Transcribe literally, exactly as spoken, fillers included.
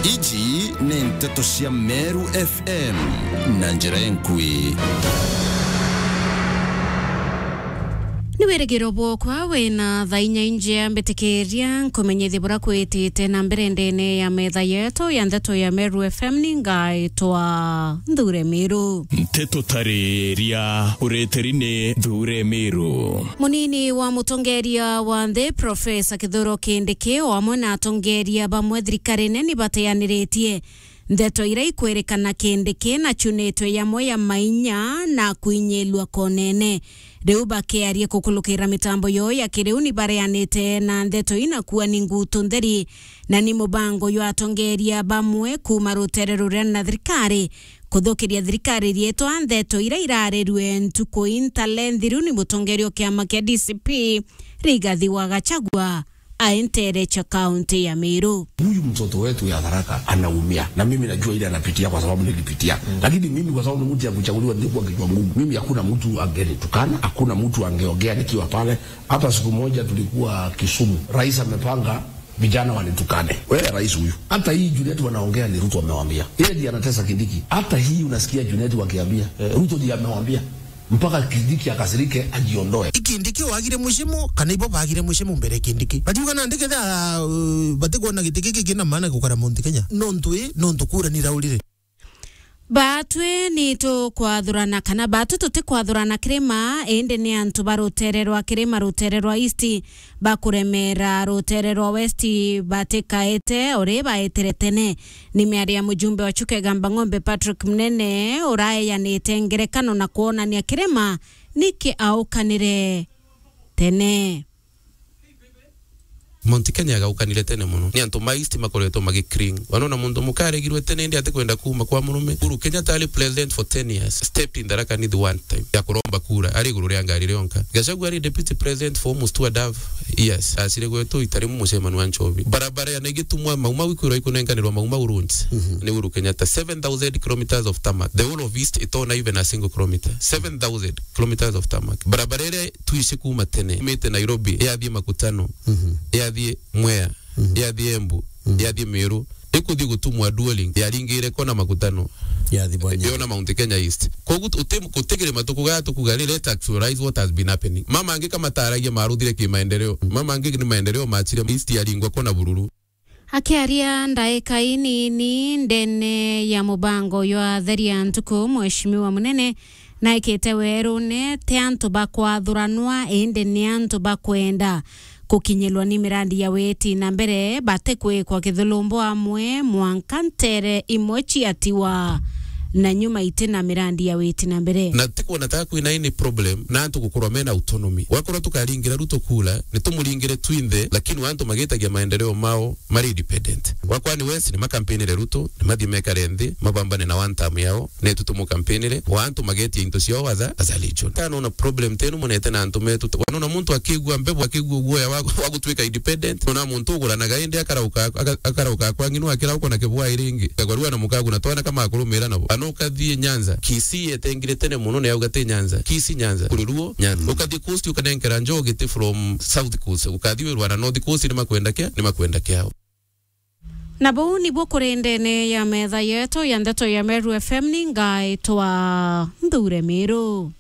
Iji ni nteto cia Meru F M na njira enkui. Ni wirigiro bwokwa wina thaa inya injia mbitikiria nkumenyithie bura kwitite na mbere ndene ya metha yetu ya nteto ya Meru F M ni ngaitwa Nthure Miru. Nteto tariria ureteri ni Nthure Miru. Munini wa mutongeria wa nthi, Profesa Kithuro Kindiki, o amwe na atongeria bamwe thirikarine ni bateaniritie ndeto iria ikwirikana Kindiki na chunitwe yamwe ya mainya na kwinyilua konene. Riu bakiaria kukulukira mitambo yoo ya kiriu ni bareanite na ndeto ina kuua ni ngutu ntheri na ni mubango jwa atongeria bamwe kuuma rutere ruria na thirikari kuthukiria thirikari rietwa ndeto iria irarirue ntuku intale nthiru ni mutongeria o kiama kia D C P Rigathi wa Gachagua aentere cha kaunti ya Meru. Huyu mtoto wetu ya Tharaka anaumia, na mimi najua ile anapitia kwa sababu nilipitia. Mm. Lakini mimi kwa sababu ni mtu ya kuchaguliwa, nilikuwa kichwa ngumu. Mimi hakuna mtu angenitukana, hakuna mtu angeongea nikiwa pale. Hata siku moja tulikuwa Kisumu, rais amepanga vijana wanitukane. Wewe rais huyu. Hata hii Junet wanaongea ni Ruto amewaambia. Yeye ndiye anatesa Kindiki. Hata hii unasikia Junet wakiambia, eh, Ruto ndiye amewaambia. Mpaka Kindiki akasirike, ajiondoe. I Kindiki wagire mucimo, kana ibo bagire mucimo mbere ya Kindiki? Batiuga nandi ketha, uh, batikwona giti giki kina maana gukara Mount Kenya. Nontu i, nontu kura ni raurire. Batwi ni tukwathurana kana batu tutikwathurana kirima, indi ni antu ba rutere rwa kirima, rutere rwa East, bakuremera rutere rwa West batikaete uri baetire tene. Ni miario ya mujumbe wa Chuka Igamba Ng'ombe Patrick Munene uraeyanite ngerekano na kwonania kirima niki aukanire tene. Mount Kenya yagaukanire tene mono. Ni antu ma East makoretwo magi cling. Wanona muntu muka aregirwe tene indi atikwenda kuuma kwa murume. Uhuru Kenyatta ari president for ten years. Stepped in Tharaka Nithi one time. Ya kuromba kura. Ari iguru ria ngari rionka. Gachagua ari deputy president for almost two and a half years. Acire gwetu itari mucemani wa Nchobi. Barabara ya Naigitumwa Mau Mau ikwirwa ikunenkanirwa Mau Mau roads. Mhm. Ni Uhuru Kenyatta. Seven thousand kilometers of tarmac. The whole of East itona even a single kilometer. Seven thousand kilometers of tarmac. Barabara iria twici kuuma tene, imite Nairobi, yathie Makutano, mhm, yathie Mwea, mhm, yathie Embu, mhm, yathie Meru, ikuthie gutumwa dual link, yaringire kona Makutano, yathie Bwanya, yona Mount Kenya East. Koguo uti-, gutigire matuku gaya tukuga ri, let's actualize what has been happening. Mama angi kamataragia maruthire ki maendeleo. Mama angi ni maendeleo machire East yaringwa kona Bururu. Akiaria ndaika inini ndene ya mubango jwa Theria Ntuku, Mheshimiwa Munene naikite werune ti antu bakwathuranwa, indi ni antu bakwenda kukinyirwa ni mirandi ya witi na mbere, batikwikwa kithulumbo amwe mwanka ntere imwe ciatiwa na nyuma iti na mirandi ya witi na mbere. Na tikwona ta kwina any problem na antu gukorwa mena autonomy. Wakorwa tukaringira Ruto kura, ni tumuringire twinthe, lakini wa antu magitagia maendeleo mao mari independent. Wa kwani West ni makampinire Ruto, ni mathie mekare nthi, mabambane na one term yao, netu tumukampinire. Wa antu magetia into ciao as a, as a legion. Kana ona problem tenu monete na antu metu. Wanona muntu akigua mbebu, akigua guoya wa, wa gutwika independent. Ona muntu uguranaga indi akarauka, aka-, akarauka kwa ng'inu akira uko na kibwa iringi. Kagwarua na mukagu na twana kama akurumira nabo. Ano ukathie Nyanza. Kisii yetengire tene mono ni auga ti Nyanza. Kisii Nyanza. Kuri Luo Nyanza. Mm. Ukathie Coast ukanenkera njogi ti from South Coast. Ukathie wirwa na North Coast ni makwenda kia, ni makwenda kiao. Na buu nibuo kuri ndene ya metha yetu ya ndeto ya Meru F M, ni ngaitwa Nthure Miru.